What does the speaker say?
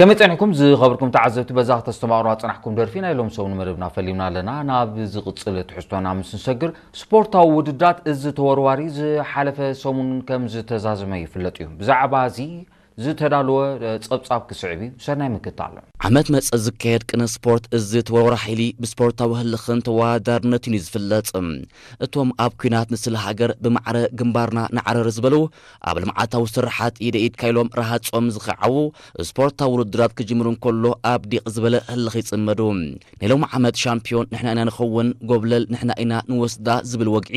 ከመይ ጸኒሕኩም ዝኸበርኩም ተዓዘብቲ? በዛ ክተስተማቕሩና ዝጸናሕኩም ደርፊ ናይ ሎም ሰሙን መደብና ፈሊምና ኣለና። ናብ ዝቕጽል ትሕዝቶና ምስ ንሰግር፣ ስፖርታዊ ውድድራት እዚ ተወርዋሪ ዝሓለፈ ሰሙን ከም ዝተዛዘመ ይፍለጥ እዩ። ብዛዕባ እዚ ዝተዳለወ ጸብጻብ ክስዕብ እዩ። ሰናይ ምክታል። ዓመት መጸ ዝካየድ ቅነ ስፖርት እዚ ተወርዋሪ ሓይሊ ብስፖርታዊ ህልኽን ተወዳዳርነትን እዩ ዝፍለጥ። እቶም ኣብ ኲናት ንስለ ሃገር ብማዕረ ግንባርና ንዓረር ዝበሉ፣ ኣብ ልምዓታዊ ስርሓት ኢደ ኢድካ ኢሎም ረሃጾም ዝኸዓዉ፣ ስፖርታዊ ውድድራት ክጅምሩ እንከሎ ኣብ ዲቕ ዝበለ ህልኽ ይጽመዱ። ናይ ሎሚ ዓመት ሻምፒዮን ንሕና ኢና ንኸውን፣ ጎብለል ንሕና ኢና ንወስዳ ዝብል ወግዒ